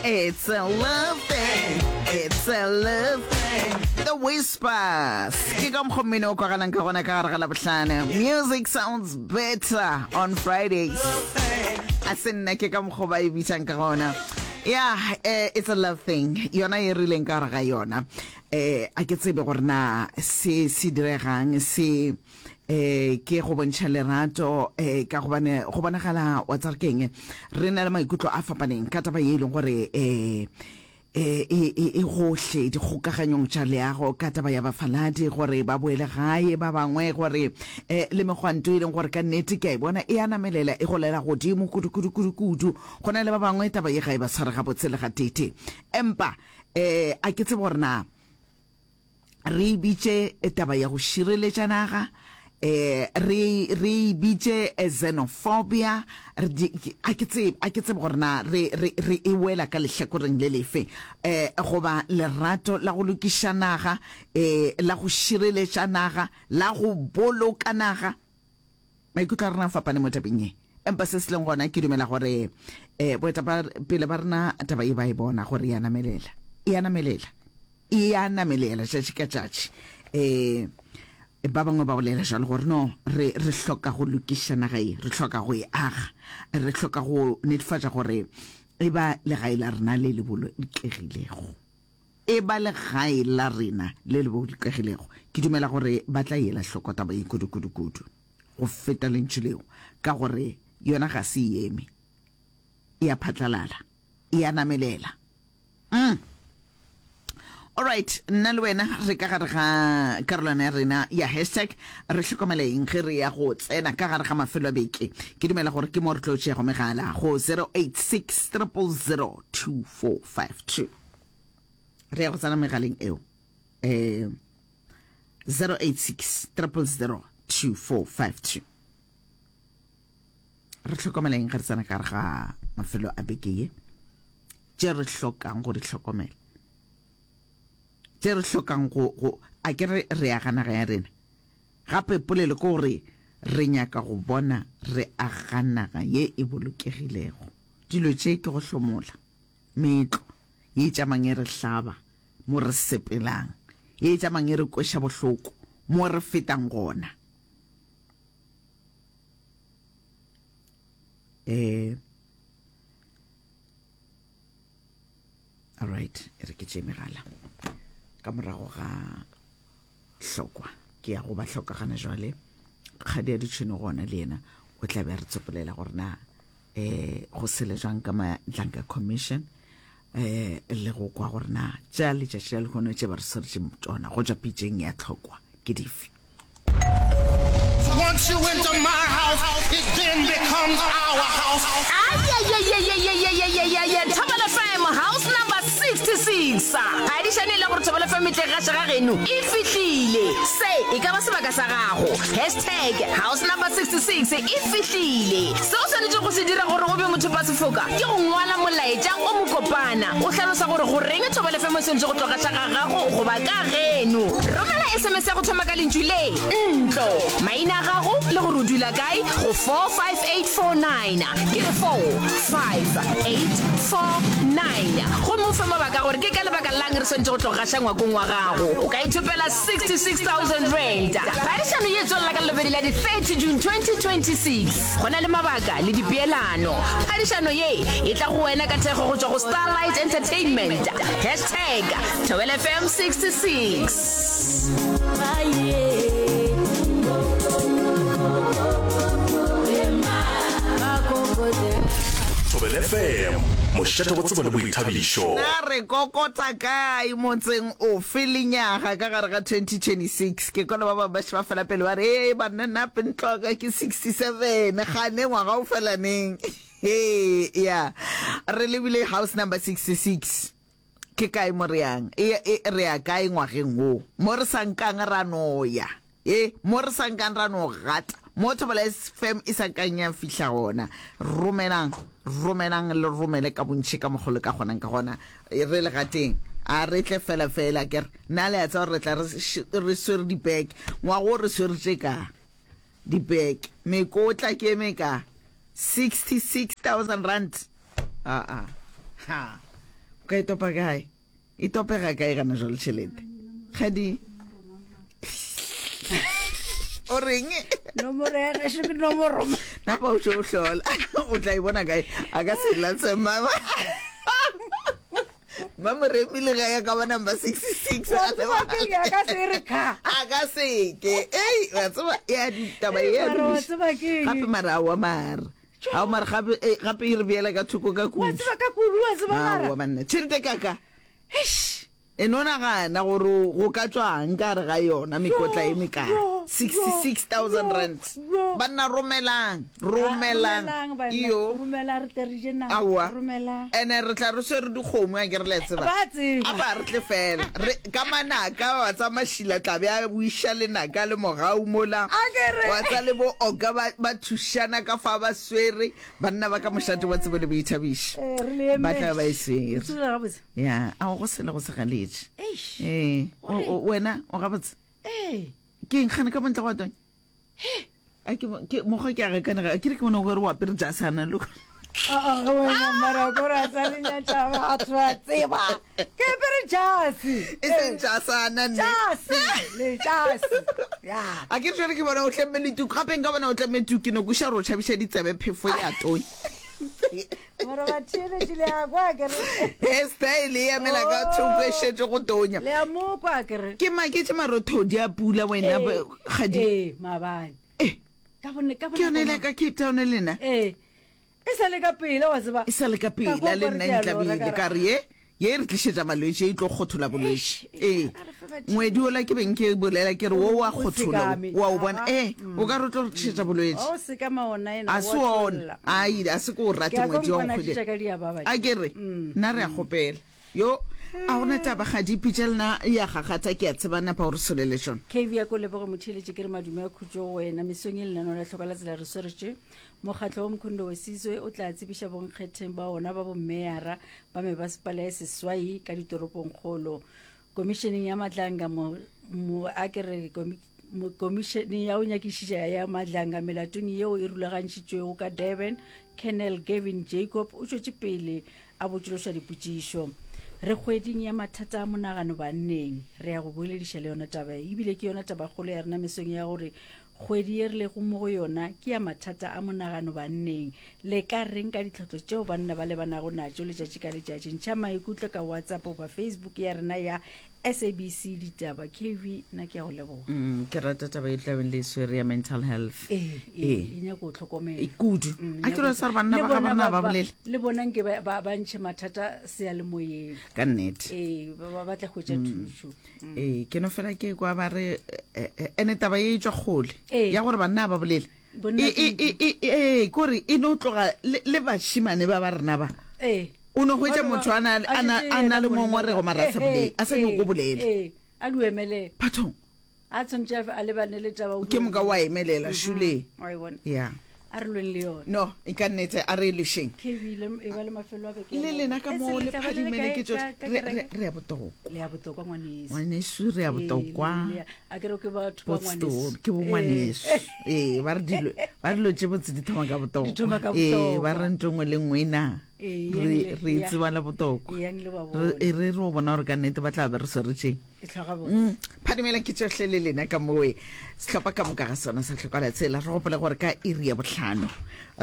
It's a love thing, it's a love thing. The Whispers. Ke ka mokgwa mmino o kwagalang ka gona ka gare ga Labohlano. Music sounds better on Fridays. A se nna ke ka mokgwa ba e bitsang ka gona. Yeah, eh, it's a love thing. Yona e rileng ka gare ga yona. Eh, a ke tsebe gore na se se diregang se eh ke go bontšha lerato eh ka gobane go bonagala wa tsare keng re na le maikutlo a fapaneng ka taba ye e leng gore eh e e e e gohle dikgokaganyong tša leago ka taba ya bafaladi gore ba boele gae ba bangwe gore eh le megwanto e leng gore ka nnete ke a e bona e a namelela e golela godimo kudu kudu kudu kudu go na le ba bangwe taba ye ga e ba tshware gabotse le gatete empa eh a ke tsebe gore na re e bitše taba ya go šireletša naga, eh, re, re e bitše xenophobia, re di, a ke tsebe, a ke tsebe gore na re, re, re e wela ka lehlakoreng le lefe, eh, goba lerato la go lokiša naga, eh, la go šireletša naga, la go boloka naga. Maikutlo a rena a fapane mo tabeng ye, empa se se leng gona ke dumela gore, eh, boetapele ba rena taba ye ba e bona gore e a namelela, e a namelela. E a namelela tšatši ka tšatši. Um ba bangwe ba bolela jalo gore no, re, re hloka go lokiša naga ye, re hloka go e aga, re hloka go netefatša gore e ba legae la rena le le bolokegilego. E ba legae la rena le le bolokegilego. Ke dumela gore ba tla ela hloko taba ye kudu-kudu-kudu go feta lentšu leo, ka gore yona ga se e eme, e a phatlalala, e a namelela. Mm. Alright, nna le wena re ka gare ga karolwana ya rena ya hashtag re hlokomela eng ge re ya go tsena ka gare ga mafelo a beke. Ke dumela gore ke mo re tlo tšeago megala go 086 000 2452. Re ya go tsena megaleng eo. Eh 086 000 2452. Re hlokomela eng ge re tsena ka gare ga mafelo a beke ye? Tše re hlokang go di hlokomela, tše re hlokang go, go, a ke re re aga naga ya rena. Gape polelo ke gore re nyaka go bona re aga naga ye e bolokegilego. Dilo tše ke go hlomola meetlo ye e tšamang e re hlaba mo re sepelang, ye e tšamang e re kweša bohloko mo re fetang gona. Eh, alright e re ke tše megala ka morago ga hlokwa ke ya go ba hlokagana jwale kgadi ya ditšhone gona le yena o tla be a re tsopolela gore na um go sele jwang ka madlanka commission um le go kwa gore na tša letšatši la lehono tše ba re swaretšeng tšona go tšwa pitšeng ya tlhokwa ke dife. Once you enter my house, it then becomes our house. Ayayayayayayayayaya Thobela FM house number 66. Phadišano e le gore Thobela FM e tle gaša ga geno e fihlile. Se e ka ba sebaka sa gago. Hashtag house number 66 e fihlile. Se o swanetšego go se dira gore o be mothopasefoka ke go ngwala molaetša o mokopana o hlalosa gore goreng Thobela FM e swanetše go tlo gaša ga gago goba ka geno. Romela SMS ya go thoma ka lentšu le, ntlo, maina a gago le gore o dula kae go 45849. Ke re 45849. Gomme o fe mabaka gore ke ka lebaka la'ng re swanetše go tlo gaša ngwakong wa gago. O ka ithopela R66,000. Phadišano ye e tswelela ka Lelobedi la di 30 June 2026. Go na le mabaka le dipeelano. Phadišano ye e tla go wena ka thekgo go tšwa go Starlight Entertainment. Hashtag Thobela FM 66. Thobela FM, mošate wa tsebo le boithabišo. Na re kokota kae, motseng ofe, lenyaga ka gare ga 2026? Ke kwele ba bangwe ba še ba fela pele ba re, Ee banna, nna ntlo ya ka ke 67, kgane ngwaga o fela neng? Hee, ya, re lebile house number 66. Ke kae mo re yang? E, e, re ya kae ngwageng wo? Mo re sa nkang ra no ya. E, mo re sa nkang ra no gata. Mo Thobela FM e sa nkang ya fihla gona. Romelang, romelang le romele ka bontši ka mokgo le ka kgonang ka gona. E, re le gateng. A re tle fela fela ke re. Na le a tseba gore re tla re, re swere dibeke. Ngwaga wo re swere tše ka dibeke. Mekotla ke e mekae? R66,000. Aa. Ha. O ka e topa kae? E topega kae gana jwale tšhelete? Kgadi. O reng? Nomoro ya gešo ke nomoro. Napa o tšo o hlola. O tla e bona kae? A ka se latse mama. Mamoremi le ga ya ka ba number 66. Wa tseba ke eng? A ka se re kha. A ka se ke. Ei, wa tseba ya ditaba ya. Mara wa tseba ke eng? Gape mara wa mara. Ao mara gape eh, gape e re beela ka thoko ka Wa kudu. tseba ka kudu wa tseba mara. Aowa banna, tšhelete kaka. Eish. E no nagana gore go ka tšwang ka gare ga yona mekotla e mekae. Yo, yo, 66,000 yo, rand. yo. Banna romelang, romelang. Romelang banna. Iyo. Romela re tle re je nama. Aowa. Romelang. Ene re tla re swere dikgomo a ke re le a tseba. Ba tseba. A ba re tle fela. Re ka manaka wa tsa mašila tla be a buiša lenaka le mogau mola. A ke re. Wa tsa le bo oka ba ba thušana ka fa ba swere banna ba ka mošate wa tsebo le boithabišo. Eh, re le Ba tla emetše. ba e swere. O tsebile gabotse. Ya, a go sele go se galetše. Eish. Ee, o- o- wena o gabotse. Ee. Ke eng kgane ka bontle go tonya? A ke ke mokgwa ke a gakanega. Ke re ke bona o re o apere jasana lo. Ah, ah, wena mara ko ra tsa le nyatša batho ba tseba. Ke apere jase. E seng jasana nne. Jase, le jase. Ya. A ke re jwale ke bona o tlemme le tuku. Gape nka bona o tlemme tuku ke no kweša gore o tšhabiša ditsebe phefo ya tonya. Mara batheeletši le a kwa ke re. Hairstyle e emela ka thoko e šetše go tonya. Le a mo kwa ke re. Ke maketše marothodi a pula wena Ee, kgadi. Ee, maabane. Eh. Ka bone ka Ke yone ile ka Cape Town le nna. Ee. E sa le ka pela wa tseba. E sa le ka Ka pela kwa le okare nna ke a lora ntlabile ka ka re, re ye ye e re tlišetša malwetši e tlo kgothola bolwetši. Eish, Ee. a re fe badimo. Ngwedi ola ke beng ke bolela ke re wo wa O kgothola sekame. wa o bona. Aha. Ee, o ka re o tlo re tlišetša bolwetši. O sekama ona ena. A se ona. Ai, a se ko o rate Ke a ngwedi wa kwa nkgwedi. mpona ka diababa. A ke re nna re a kgopela. Yo, a gona taba ga di pitša lena ya gagatha ke a tseba napa o re solele tšona. KV ya ko leboge motheeletši ke re madume a khutšo go wena mesong e lenaneo la hloka la tsela re swaretše mokgatlo wa Mkhondo Wesizwe o tla tsebiša bonkgetheng ba ona ba bommeyara ba mebasepala ya seswai ka ditoropongkgolo komišeneng ya Madlanga mo, mo a ke re komi, mo, komišene ya go nyakišiša ya Madlanga melatong yeo e rulagantšhitšwego ka Durban Colonel Gavin Jacob o tšwetše pele a botšološa dipotšišo. Re kgweding ya mathata a monagano banneng. Re ya go bolediša le yona taba ye. Ebile ke yona tabakgolo ya rena mesong ya gore kgwedi ye re lego mo go yona ke ya mathata a monagano banneng. Le ka reng ka ditlhotlo tšeo banna ba lebanago natšo letšatši ka letšatši? Ntšha maikutlo ka WhatsApp goba Facebook ya rena ya SABC Ditaba. KV, nna ke a go leboga. Mm, ke rata taba e tlabeng le e swere ya mental health. Ee, Ee. e nyaka go tlhokomela. E kudu. Mm, A ke re sa re banna Le ba ga bona banna ba bolele. Le bona nke ba, ba, ba ntšhe mathata seyalemoyeng. Ka nnete. Ee, ba, ba batla hwetša thušo. Mm. Ee, ke no fela ke kwa ba re eh, eh, ene taba ye e tšwa kgole. Ee. Ya gore banna ba bolele. Bonna E e e e e kore e no tloga le, le bashimane ba ba rena ba. Ee. O no hwetša motho a na, a na, a na le ngongorego mara a sa bolele, a sa nyake go bolela. Ee, a di emelele. Bathong. A tshwanetse a lebane le taba. Ke moka wa emelela, šule. Wa e bona. Ya. A re lweng le yona. No, e ka nnete a re e lwešeng. KB le e ba le mafelo a beke. Le lena ka mo le phadimele ke tšohle. Re, re, re ya botokwa. Le ya botokwa ngwaneso. Ngwaneso re ya botokwa. A ke re ke batho ba Botsto, ngwaneso. ke bo ngwaneso. Ee, ba re dilo, ba re dilo tše botse di thoma ka botokwa. Di thoma ka Ee, botokwa. ba re ntho nngwe le nngwe e na. Ee, Re, yang re le- ya. tseba la botokwa. Yang le ba Re, bone. e re re o bona gore ka nnete ba tla be re swaretšeng. E tlhoga botse. Mm, phadimela ke tšohle le lena ka mowe sehlopha ka moka ga sona sa tlhokola tsela re gopole gore ka iri ya bohlano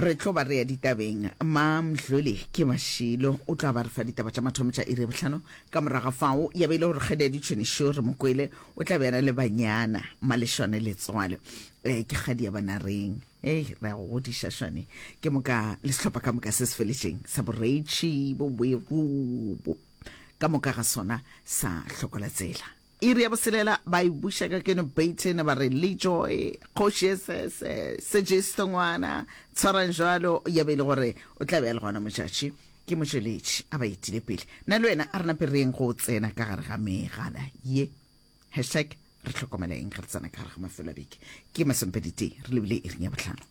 re tlo ba re ya ditabeng mamdlole ke mašilo o tla ba re fa ditaba tša mathomo tša iri ya bohlano ka morago ga fao ya be e le gore kgedi ya ditšhonišo re mokwele o tla be a na le banyana malešwane letswalo um ke kgadi ya banareng Ei, re a go godiša Šwane. Ke moka le sehlopha ka moka se se feletšeng sa boreitši, boweru, bo ka moka ga sona sa hlokola tsela. Iri ya boselela ba e buša ka keno Baton ba re Lejoy, kgoši e sese, Sejesto ngwana, tshwarang jwalo ya be e le gore o tla be a le gona motšatši ke motšweletši a ba etile pele. Nna le wena a re nape re yeng go tsena ka gare ga megala ye. Hashtag re hlokomela eng ge re tsena ka gare ga mafelo a beke. Ke masomepeditee re lebile iring ya bohlano.